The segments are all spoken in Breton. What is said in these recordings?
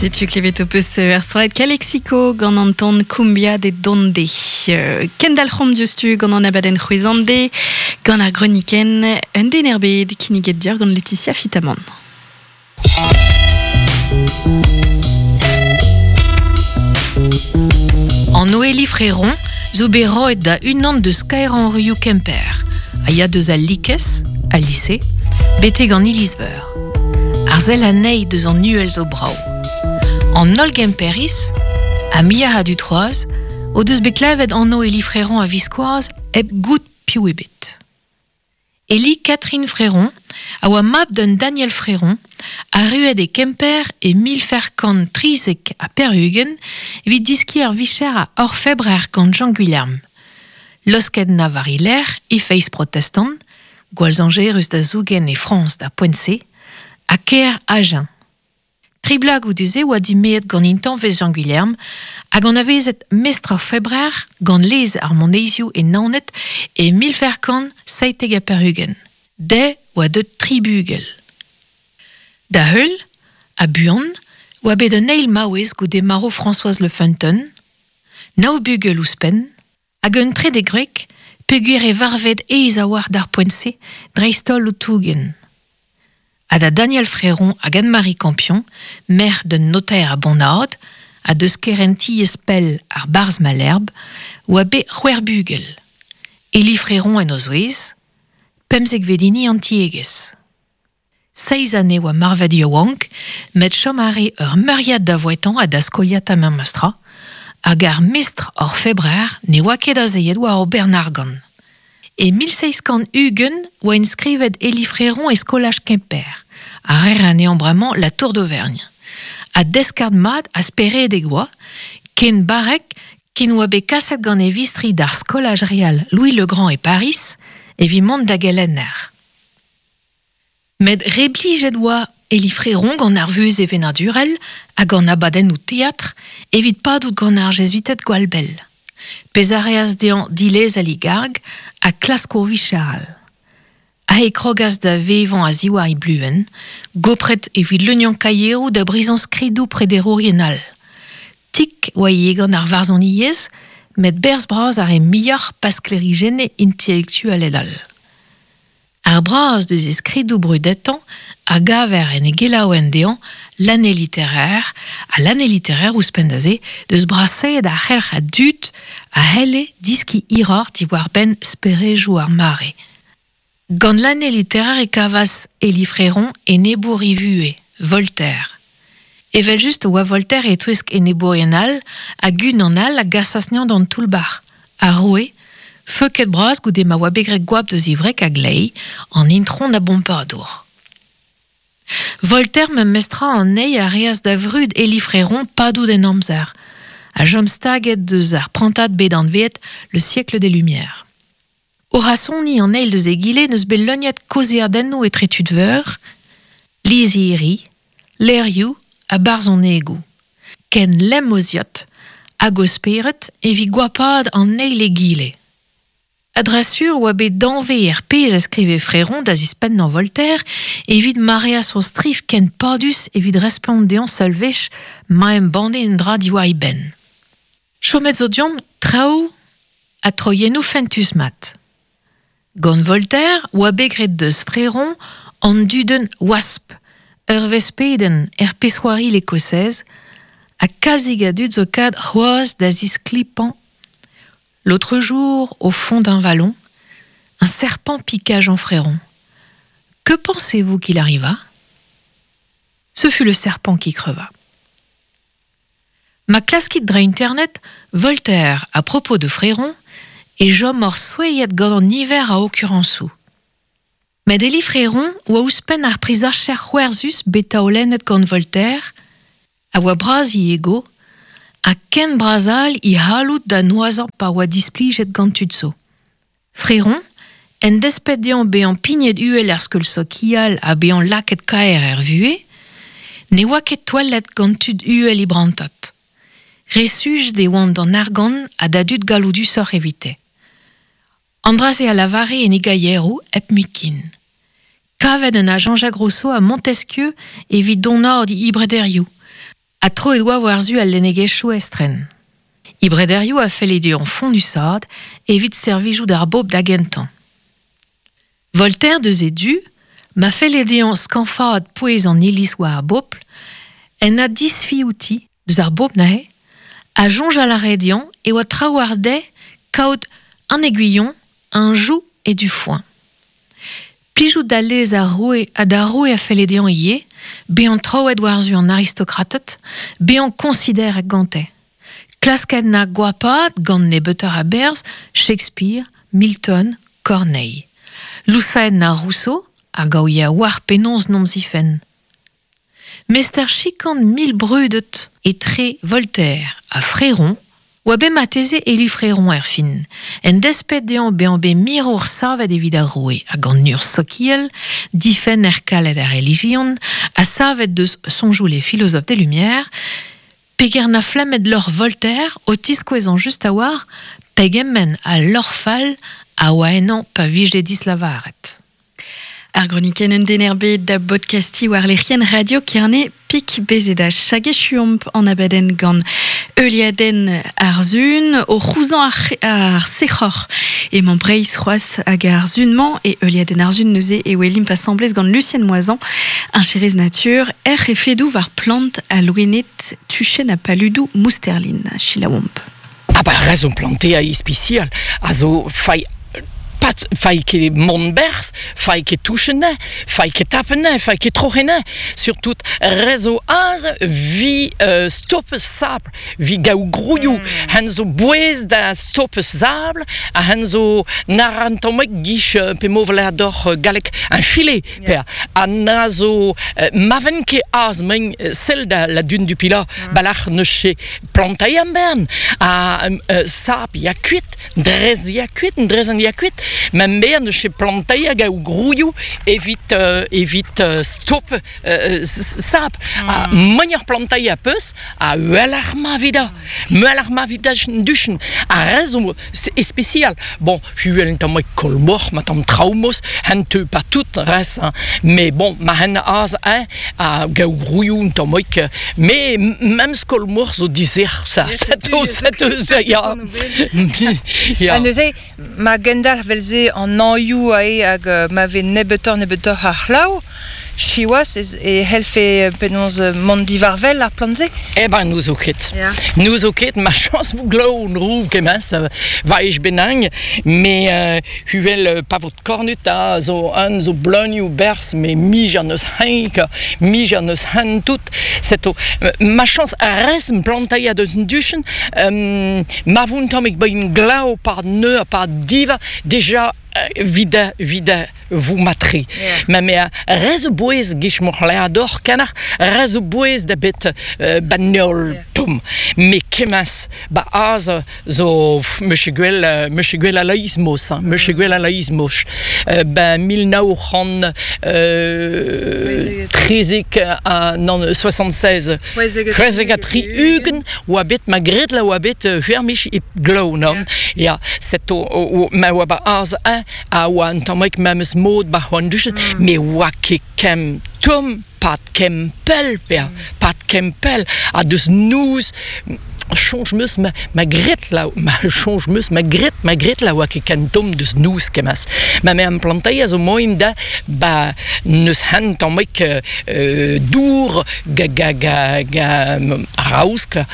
Setu klevet ho peus er strollad Calexico gant an ton Cumbia de Donde. Kendalc'homp diouzhtu gant an abadenn c'hwezhande, gant ar greunikenn un den er bed kinniget deoc'h gant Laetitia Fitamant. An Noélie Fréron zo bet roet da unan deus kaerañ ruioù Kemper, a ya deus al Likez, al lise, betek an iliz-veur. Ar sell anezhi deus an uhel zo brav. An holl Gemperiz, ha muioc'h a dud c'hoazh, o deus bet klevet anv Élie Fréron a-viskoazh hep goût piv ebet. Élie Catherine Fréron a oa mab d'un Daniel Fréron, arruet e Kemper e 1493 evit diskiñ ar vicher a orfebrer gant Jean Gwilherm. Losket na war e lerc'h e feiz protestant, gwall zañjerus da zougen e Frañs d'ar poent-se, ha kêr Agen. Tri bloaz goude-se oa dimeet gant intañvez Jean Gwilherm hag anavezet mestr ar Febrer gant lez ar moneizoù e Naoned e 1497. Dezhe oa deuet tri bugel. Da heul, ha buan, oa bet un eil maouez goude marv Françoise Le Feunteun, nav bugel ouzhpenn, hag un trede gwreg peogwir e varved aes a-walc'h d'ar poent-se, dreist-holl o tougen. Ha da Daniel Fréron hag Anne-Marie Campion, merc'h d'un notaer a Bonnard, ha deus kerentiezh pell ar barzh Malherbe, oa bet c'hwec'h bugel. Élie Fréron en o zouez, pemzekvet hini an tiegezh. Seizh anezhe oa marvet yaouank, met chom a rae ur meuriad da vouetañ ha da skoliata memes tra, hag ar mestr orfebrer ne oa ket azeet war o bern argant. E 1720 oa enskrivet Élie Fréron e skolaj Kemper, a reer anezhañ bremañ La Tour d'Auvergne. Ha deskard mat ha speredek oa, ken barrek ken oa bet kaset gant e vistri d'ar skolaj real Louis le Grand e Pariz evit mont da gelenner. Met re blijet oa Élie Fréron gant ar vuhez sevenadurel hag an abadennoù teatr evit padout gant ar Jezuited gwall bell. Pezh a reas dezhañ dilezel e garg ha klask ur vicher all. Aze e krogas da vevañ a-ziwar e bluenn, gopret evit leuniañ kaieroù da brizañ skridoù prederourien all. Tik oa ivez gant ar varzhoniezh, met berzh bras a rae muioc'h pa sklêrijenne intelektualed all. Ar braz deus e skridoù brudetañ a gaver en e gelaouenn dezhañ L'année littéraire, ha L'année littéraire ouzhpenn da se deus brasaet ar c'helc'h a dud a c'helle diskiñ hiroc'h diwar-benn sperejoù ar mare. Gant L'année littéraire e kavas Élie Fréron enebour e vuhez, Voltaire. Evel-just e oa Voltaire e-touesk enebourien all hag unan all a gasas anezhañ d'an toull-bac'h, ar roue, feuket bras goude ma oa bet graet goap deus e wreg a-gleiz, an intron a Bompadour. Voltaire memestra anezhi a reas da vrud Élie Fréron padout en amzer, ha chom staget deus ar prantad bet anveet Le siècle des Lumières. O rasoniñ an eil deus egile n'eus bet leuniet kaozeadennoù etre tud veur, lizhiri, levrioù ha barzhonegoù. Ken lemm o ziot hag o spered evit goapaat an eil egile. A-dra-sur oa bet danvez er pezh a skrive Fréron da zispennañ Voltaire evit ma reas o striv ken padus evit respont dezhañ seul wech ma embanne un dra diwar e benn. Chomet zo deomp traoù ha troiennoù fentus-mat. Gant Voltaire oa bet graet deus Fréron an dudenn Wasp, ur vespedenn er pezh-c'hoari L'Écossaise, ha kalzik a dud zo kad c'hoazh da zisklipañ L'autre jour, au fond d'un vallon, un serpent piqua Jean Fréron. Que pensez-vous qu'il arriva Ce fut le serpent qui creva. Ma klaskit dre internet Voltaire à propos de Fréron e chom oc'h souezhet gant an niver a okurañsoù. Met Élie Fréron oa ouzhpenn ar prizacher c'hwerzus bet taolennet gant Voltaire, a oa bras e ego, ha ken bras all e c'halloud da noazhañ pa oa displijet gant tud zo. Fréron, en desped dezhañ bezañ pignet uhel er skeul sokial ha bezañ lakaet kaer er vuhez, ne oa ket touellet gant tud uhel e brantad. Re sujet e oant d'an argant ha da dud galloudusoc'h evite. An dra-se a lavare en e gaieroù hep mui-ken. Kavet en a Jean-Jacques Rousseau ha Montesquieu evit donaat e brederioù. Ha troet oa war-zu al lennegezhioù estren. E brederioù a felle dezhañ fonnusat evit servijout ar bobl da gentañ. Voltaire deus e du, ma felle dezhañ skañfaat pouez an iliz war ar bobl, en a disfi outi, deus ar bobl neuze, ha soñjal a rae dezhañ e oa trawalc'h dezhe kaout an aiguillon, un joug et du foin. Plijout da lez ar roue ha d'ar roue a felle dezhañ ivez bezañ troet war-zu an aristokrated, bezañ koñsideret gante. Klasket na goapaat gant nebeutoc'h a-berzh Shakespeare, Milton, Corneille. Lousaet na Rousseau hag a ouie a-walc'h penaos n'omp zifenn. Mestr chikan mil brudet etre Voltaire ha Fréron oa bet marteze Élie Fréron erfin, en desped dezhañ bezañ bet mirour savet evit ar roue hag an urzh sokial, difenner kalet ar relijion, ha savet deus soñjoù les philosophes des Lumières, peger na flemmet lorc'h Voltaire o tiskouezañ just a-walc'h pegement a lorc'h fall a oa ennañ pa vije dislavaret. Ar gronikenn un den er bed da bodkastiñ war lec'hienn Radio Kerne Pik Bezedach. Hag echuomp an abadenn gant heuliadenn ar Sun o c'houzañ ar sec'hor. Emañ Breizh c'hoazh hag ar Sun-mañ e heuliadenn ar Sun neuze e welimp asambles gant Lucienne Moisan, heñcherez natur, hec'h efedoù war plant ha loened tuchenn ha paludoù Mousterlin. Selaouomp. Ah ba rezon plantea ispisial a zo fai pat fai ket mont berzh, fai ket touchen ne, fai ket tapen ne, fai ket troc'hen ne. Surtout rezo az vi stop sabl, vi gaou grouioù, hen zo bouez da stop sabl, ha hen zo narantomek gich pe movler doc'h gallek un filet per ha na zo maven ket az men sell da la dune du Pilat balac'h neus che plantaiñ am bern ha sap ya kuit drez ya kuit drez an ya kuit ma bern neus che plantaiñ hag a grouioù evit evit stop sap ha manier plantaiñ a peus ha uheloc'h ma vida muelloc'h ma vida duchen ha re zo spécial bon huel un tamm kolmoc'h ma tamm traoù-mos hen teu pas tout res hein. Mais bon ma hen az hein a gaou grouioù un tamm mais même skolmoc'h zo dizer ça ça ya ya Ha neuze ma gendalc'h vel-se an hañioù ae hag ma vez nebeutoc'h nebeutoc'h a c'hlav, siwazh ez e c'hellfe penaos mont diwar-wel ar plant-se? Eh ben n'ouzo ket. Yeah. N'ouzo ket, ma chañs vo glav nrou kemens vaej benang, mais huel pa vot kornut a zo un zo bleunioù berzh, mais mij an eus henk, mij an eus hen tout. Seto ma chañs a res plantailh a deus duchen, ma voun tammig bain glav par neu par diva, déjà vida vida vous matri. Yeah. Ma me rez o bouez gich moc'h ador kanach, rez o bouez da bet banol yeah. tum. Me kemas ba az zo meche gwell meche gwell a laizmos, hein, meche gwell a laizmos. Ba 1900 trezek a nan 76 c'hwezek ha tri ugent oa bet ma gret la oa bet huermich e glav non ya seto ma oa ba az un a oa un tammig memes mod ba c'hoant duchet me oa ket kem tomm pat kem pell per pat kem pell ha deus nouz soñj 'meus ma, ma gret la ma soñj 'meus ma gret ma gret la oa ket ken tomm deus nouz kemas ma me am plantailh a zo moin da ba neus hen tammig dour ga ga ga ga raoskl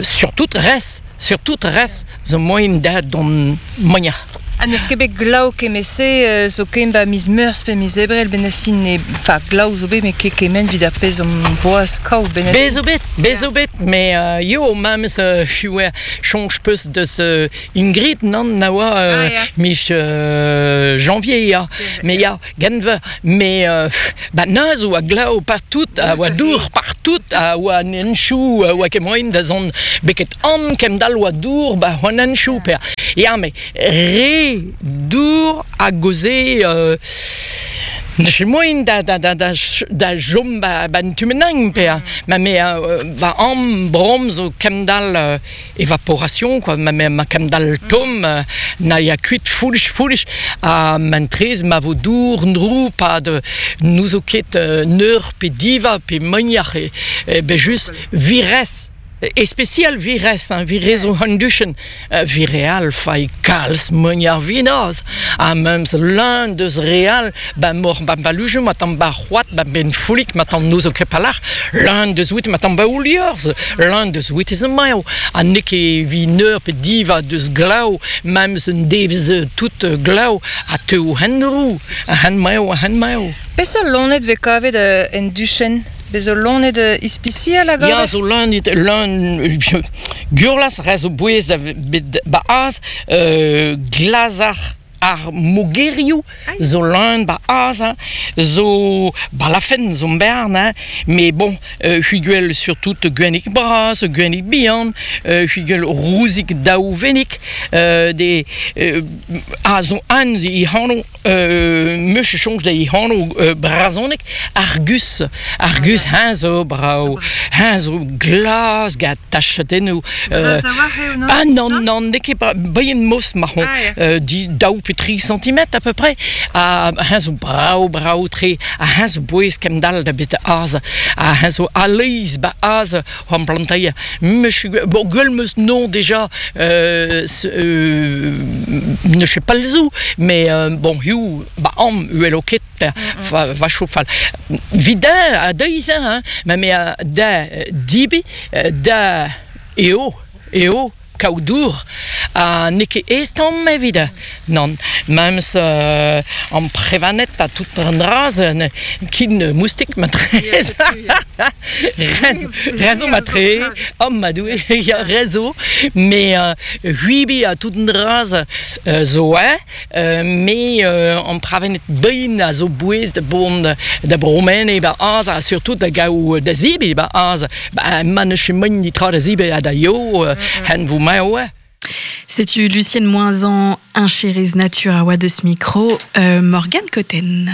surtout res surtout res zo moin da dont moignañ. Ha n'eus ket bet glav kement-se zo ken ba miz Meurzh pe miz Ebrel benn ar fin ne enfin glav zo bet met ket kement evit ar pezh omp boas kaout benn Bez zo bet, bez zo bet, mais yo memes huer soñj peus deus Ingrid nann na oa miz janvier ya, mais ya genver, mais ba neuze oa glav partout, a oa dour partout, a oa an henchoù, a oa ket moaien da zont beket an kemdall oa dour ba an henchoù per ya mais re dour a gaoze n'eus ket moaien da da da da da chom ba ba 'n tu-mennañ pe ma me va am brom zo kemdall évaporation quoi ma ma kemdall tomm na ya kuit foulch foulch ha mentrez ma vo dour ndrou pad n'ouzo ket neur pe diva pe moignac'h e Be just vires E spesial vires, hein, vires o handuchen, vireal fai kalz meuniar vinaz, ha mems l'un deus real, ba mor ba balujo, ma tamm ba c'hoat, ba ben foulik, ma tamm noz o kepalach, l'un deus wit, ma tamm ba ouliorz, l'un deus wit ez maio, ha n'eo ket vi neur pe diva deus glav, mems un devez tout glav, ha teu hen rou, hen maio, hen maio. Peseurt loened vez kavet en duchenn? Bez zo loened ispisial a gaver? Ya, zo loened, loen gurlas, re zo bouez da bet ba az, glazar ar mogerioù zo leun ba az, hein, zo balafen zo bern, hein, mais bon, hugel surtout gwennig bras, gwennig bihan, hugel rouzik daouvennig, de a zo an i hano meus soñj da e anv brezhoneg Argus. Argus, heñ zo brav. Heñ zo glas gant tachadennoù. Bras a-walc'h eo, non? Ah non, non, n'eo ket bihan mos marron. Ah, ya. Daou pe tri centimètres à peu près. Ha heñ zo brav, brav-tre. Ha heñ zo bouez kemdall da bet az. Ha heñ zo a-leizh ba az an planteier. Meus bon, gwell meus non déjà ne sais pas le zou, mais bon, hiu ba am uelo ket va chofal. Vidin a deiz, hein, ma me da dibi, da eo, eo kaout dour ha n'eo ket aes tamm evit nann memes amprevaned ha tout an dra-se kin moustik matrez rezo matre oh ma doue ya rezo mais huibi ha tout an dra-se zo mais amprevaned bihan a zo bouez da bon da bromene ba az ha surtout da gaou da zibi ba az ba ma ne ket ditra da zibi ha da yo hen vo maeo. Setu Lucienne Moisan, heñcherez natur a oa deus mikro Morgane Cotten.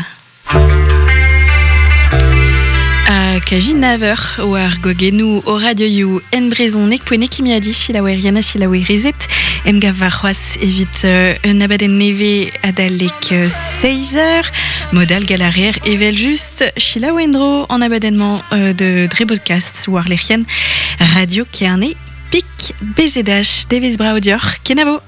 Ha kaji naver war gogennoù o radioioù en brezhoneg poent kimiadi selaouerien ha selaouerezed emgav warc'hoazh evit un abadenn nevez adalek 6 eur. Modal galarer evel-just selaou en-dro an abadenn-mañ de dre podcast war lec'hienn Radio Kerne Pik BZH. Devezh brav deoc'h, kenavo!